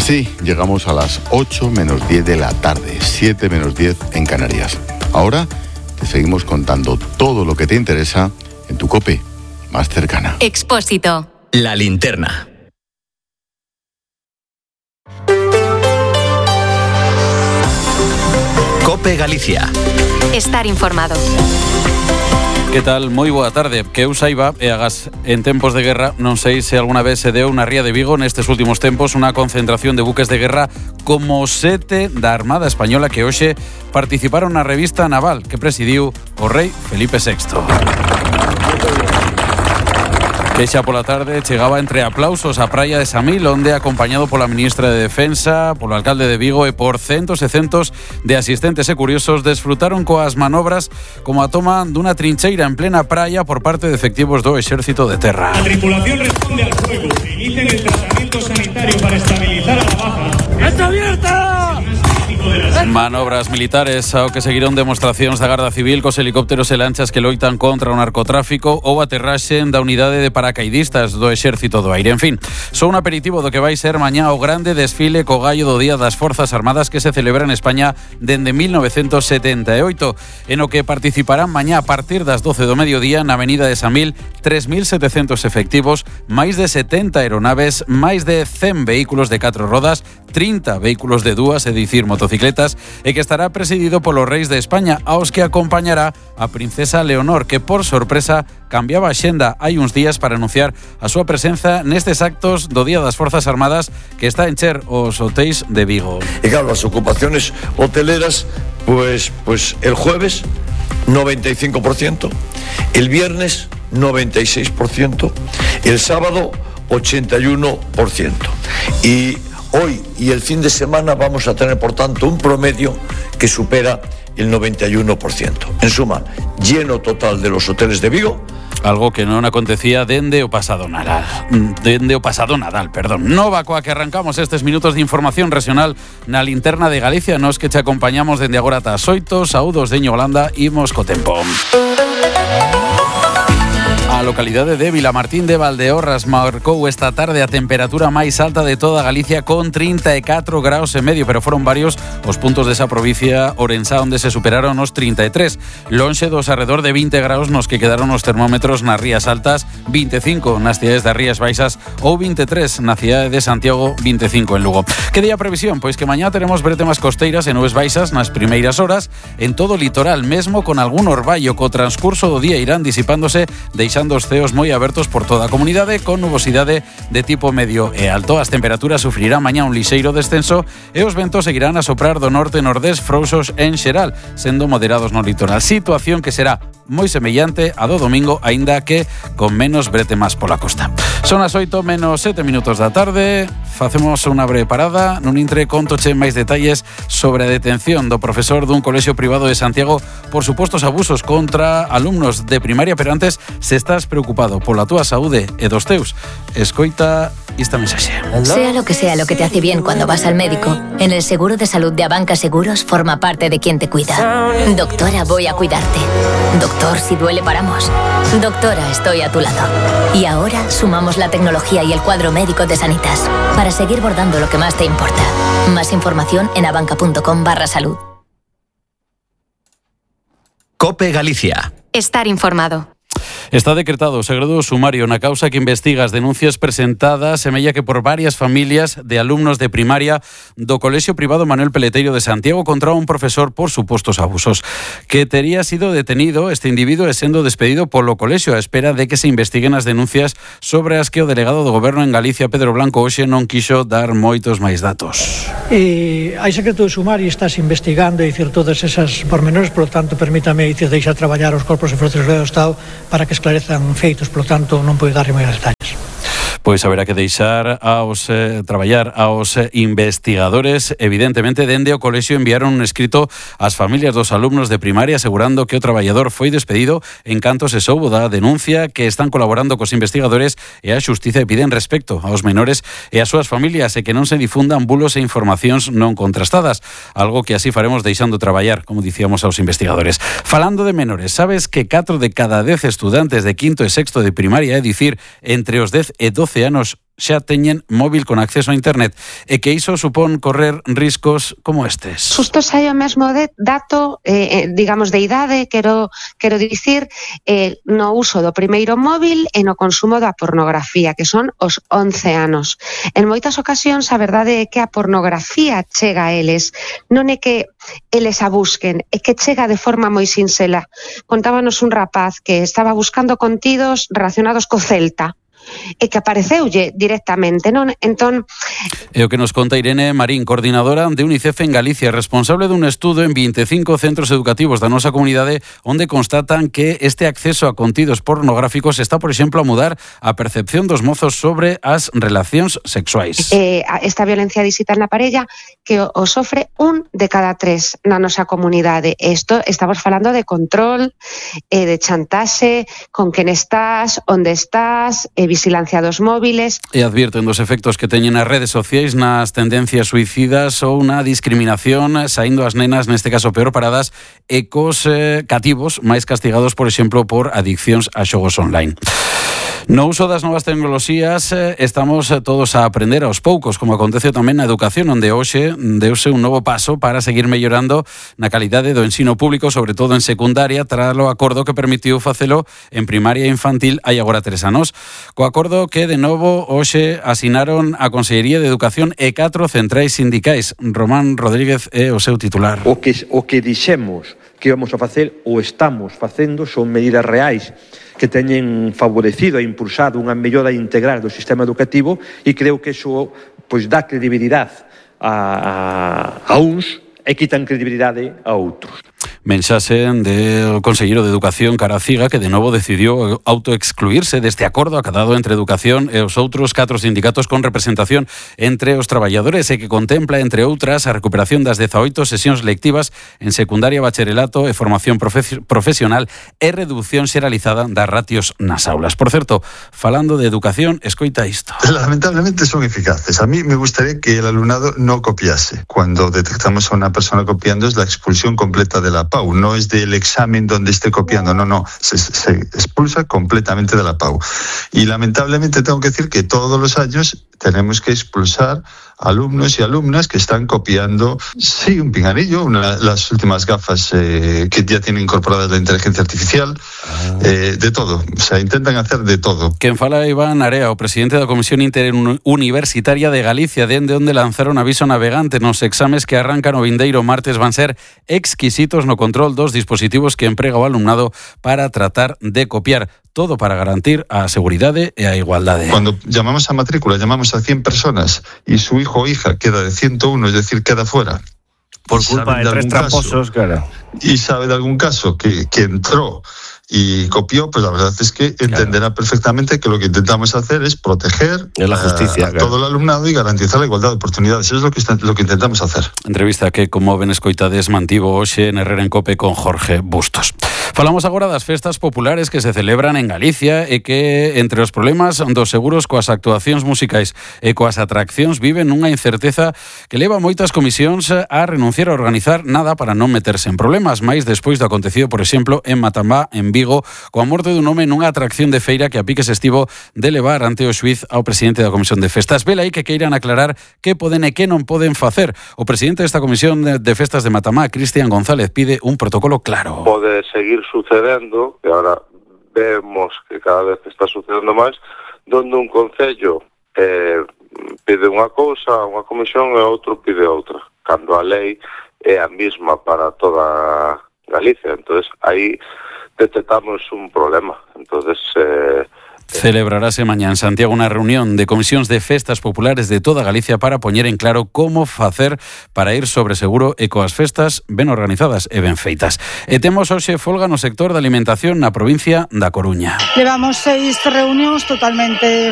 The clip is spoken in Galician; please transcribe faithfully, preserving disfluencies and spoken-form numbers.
Así llegamos a las ocho menos diez de la tarde, siete menos diez en Canarias. Ahora te seguimos contando todo lo que te interesa en tu COPE más cercana. Expósito. La linterna. COPE Galicia. Estar informado. Que tal? Moi boa tarde. Que eu saiba, e agás en tempos de guerra, non sei se alguna vez se deu na Ría de Vigo nestes últimos tempos unha concentración de buques de guerra como sete da Armada Española que hoxe participaron na revista naval que presidiu o rei Felipe sexto. Que xa pola tarde chegaba entre aplausos a praia de Samil, onde acompañado pola ministra de Defensa, polo alcalde de Vigo e por centos e centos de asistentes e curiosos desfrutaron coas manobras como a toma dunha trincheira en plena praia por parte de efectivos do Exército de Terra. La tripulación responde al fuego e inician el tratamiento sanitario para estabilizar a la baja. ¡Está abierta! Manobras militares ao que seguiron demostracións da Garda Civil cos helicópteros e lanchas que loitan contra o narcotráfico ou aterraxen da unidade de paracaidistas do Exército do Aire. En fin, só un aperitivo do que vai ser mañá o grande desfile co gallo do Día das Forzas Armadas que se celebra en España dende mil novecentos setenta e oito, en o que participarán mañá a partir das doce do mediodía na Avenida de Samil tres mil setecentos efectivos, máis de setenta aeronaves, máis de cen vehículos de catro rodas, trinta vehículos de dúas, é dicir, motocicletas, e que estará presidido polos reis de España, aos que acompañará a princesa Leonor, que por sorpresa cambiaba a xenda hai uns días para anunciar a súa presenza nestes actos do Día das Forzas Armadas que está a encher os hotéis de Vigo. Y claro, las ocupaciones hoteleras, pues, pues el jueves noventa y cinco por ciento, el viernes noventa y seis por ciento, el sábado ochenta y uno por ciento. Y hoy y el fin de semana vamos a tener, por tanto, un promedio que supera el noventa y uno por ciento. En suma, lleno total de los hoteles de Vigo. Algo que non acontecía dende o pasado Nadal. Dende o pasado Nadal, perdón. Nova coa que arrancamos estes minutos de información regional na linterna de Galicia, nos que te acompañamos dende agora ata as oito. Saúdos de Holanda, imos co tempo. A localidade de Vilamartín de Valdeorras marcou esta tarde a temperatura máis alta de toda Galicia con trinta e catro graus e medio, pero foron varios os puntos desa provincia Ourensá onde se superaron os trinta e tres. Lonxe dos arredor de vinte graus nos que quedaron os termómetros nas Rías Altas, vinte e cinco nas cidades das Rías Baixas ou vinte e tres na cidade de Santiago, vinte e cinco en Lugo. Que día previsión? Pois que mañá teremos bretemas costeiras e nubes baixas nas primeiras horas en todo o litoral, mesmo con algún orballo. Co transcurso do día irán disipándose, deixando os ceos moi abertos por toda a comunidade con nubosidade de tipo medio e alto. As temperaturas sufrirán mañá un lixeiro descenso e os ventos seguirán a soprar do norte e nordés frouxos en xeral, sendo moderados no litoral. Situación que será moi semellante a do domingo, aínda que con menos bretemas pola costa. Son as oito menos sete minutos da tarde. Facemos unha breve parada. Nun intre contoche máis detalles sobre a detención do profesor dun colexio privado de Santiago por supostos abusos contra alumnos de primaria, pero antes, se estás preocupado pola túa saúde e dos teus, escoita esta mensaxe. Sea lo que sea lo que te hace bien cuando vas al médico, en el seguro de salud de Abanca Seguros forma parte de quien te cuida. Doctora, voy a cuidarte. Doctor, si duele paramos. Doctora, estoy a tu lado. Y ahora sumamos la tecnología y el cuadro médico de Sanitas para seguir bordando lo que más te importa. Más información en abanca.com barra salud. COPE Galicia. Estar informado. Está decretado o segredo sumario na causa que investiga as denuncias presentadas semella que por varias familias de alumnos de primaria do Colexio Privado Manuel Peleteiro de Santiago contra un profesor por supostos abusos. Que tería sido detenido este individuo e sendo despedido polo colexio a espera de que se investiguen as denuncias sobre as que o delegado do Goberno en Galicia, Pedro Blanco, hoxe non quixo dar moitos máis datos. E hai secreto de sumario, estás investigando e dicir todas esas pormenores, por lo tanto, permítame dicir, deixar traballar os corpos e forzas do Estado para que esclarezan feitos, por lo tanto, non podo darlle máis detalles. Pois haberá que deixar aos eh, traballar aos eh, investigadores. Evidentemente, dende o colexio enviaron un escrito ás familias dos alumnos de primaria asegurando que o traballador foi despedido en canto se soubo da denuncia, que están colaborando cos investigadores e a xustiza e piden respecto aos menores e ás súas familias e que non se difundan bulos e informacións non contrastadas, algo que así faremos deixando traballar, como dicíamos, aos investigadores. Falando de menores, sabes que catro de cada dez estudantes de quinto e sexto de primaria, é dicir, entre os dez e doce anos, xa teñen móvil con acceso a internet e que iso supón correr riscos como estes. Xusto sai o mesmo de dato, eh, digamos, de idade, quero, quero dicir, eh, no uso do primeiro móvil e no consumo da pornografía, que son os once anos. En moitas ocasións a verdade é que a pornografía chega a eles, non é que eles a busquen, é que chega de forma moi sinxela. Contábanos un rapaz que estaba buscando contidos relacionados co Celta, e que apareceulle directamente, non? Entón... É o que nos conta Irene Marín, coordinadora de UNICEF en Galicia, responsable dun estudo en vinte e cinco centros educativos da nosa comunidade onde constatan que este acceso a contidos pornográficos está, por exemplo, a mudar a percepción dos mozos sobre as relacións sexuais. Eh, esta violencia digital na parella que o sofre un de cada tres na nosa comunidade. Isto estamos falando de control, eh, de chantaxe, con quen estás, onde estás, eh, vigilancia dos móviles. E advierten dos efectos que teñen as redes sociais nas tendencias suicidas ou na discriminación, saindo as nenas, neste caso peor paradas, e cos eh, cativos máis castigados, por exemplo, por adiccións a xogos online. No uso das novas tecnoloxías eh, estamos todos a aprender aos poucos, como acontece tamén na educación, onde hoxe deuse un novo paso para seguir mellorando na calidade do ensino público, sobre todo en secundaria, tras o acordo que permitiu facelo en primaria e infantil hai agora tres anos. Co acordo que, de novo, hoxe asinaron a Consellería de Educación e catro centrais sindicais. Román Rodríguez é o seu titular. O que, o que dixemos que íbamos a facer, ou estamos facendo, son medidas reais que teñen favorecido e impulsado unha mellora integral do sistema educativo, e creo que iso pois, dá credibilidade a, a, a uns e quitan credibilidade a outros. Mensaxe do conselleiro de Educación, Caraciga, que de novo decidiu autoexcluirse deste acordo acadado entre Educación e os outros catro sindicatos con representación entre os traballadores e que contempla, entre outras, a recuperación das dezaoito sesións lectivas en secundaria, bacharelato e formación profe- profesional e reducción xeralizada das ratios nas aulas. Por certo, falando de educación, escoita isto. Lamentablemente son eficaces. A mí me gustaría que el alumnado no copiase. Cuando detectamos a una persona copiando es la expulsión completa de la P A U, no es del examen donde esté copiando, no, no, se, se expulsa completamente de la P A U. Y lamentablemente tengo que decir que todos los años tenemos que expulsar alumnos y alumnas que están copiando, sí, un pinganillo, una, las últimas gafas eh, que ya tienen incorporadas la inteligencia artificial, eh, de todo, o sea, intentan hacer de todo. Quen fala Iván Area, o presidente da Comisión Interuniversitaria de Galicia, dende onde lanzaron aviso navegante nos exames que arrancan o vindeiro martes van ser exquisitos no control dos dispositivos que emprega o alumnado para tratar de copiar. Todo para garantir a seguridade e a igualdade. Cuando llamamos a matrícula, llamamos a cien personas y su hijo o hija queda de ciento uno, es decir, queda fuera. Por culpa de, de tres tramposos, claro. Y sabe de algún caso que, que entró y copió, pues la verdad es que entenderá claro. perfectamente que lo que intentamos hacer es proteger la justicia, a, a claro. todo el alumnado y garantizar la igualdad de oportunidades. Eso es lo que, lo que intentamos hacer. Entrevista que, como ben escoitades, mantivo hoxe en Herrera en Cope con Jorge Bustos. Falamos agora das festas populares que se celebran en Galicia e que, entre os problemas dos seguros coas actuacións musicais e coas atraccións, viven unha incerteza que leva moitas comisións a renunciar a organizar nada para non meterse en problemas, máis despois do acontecido, por exemplo, en Matambá, en Vigo, coa morte dun home nunha atracción de feira que a piques estivo de levar ante o xuíz ao presidente da Comisión de Festas. Vela aí que queiran aclarar que poden e que non poden facer. O presidente desta Comisión de Festas de Matamá, Cristian González, pide un protocolo claro. Pode seguir sucedendo, que ahora vemos que cada vez está sucedendo máis, donde un concello eh, pide unha cousa, unha comisión, e outro pide outra, cando a lei é a mesma para toda Galicia. Entonces aí detectamos un problema. Entonces eh, Celebrarase mañá en Santiago unha reunión de comisións de festas populares de toda Galicia para poñer en claro como facer para ir sobre seguro e coas festas ben organizadas e ben feitas. E temos hoxe folga no sector da alimentación na provincia da Coruña. Levamos seis reunións totalmente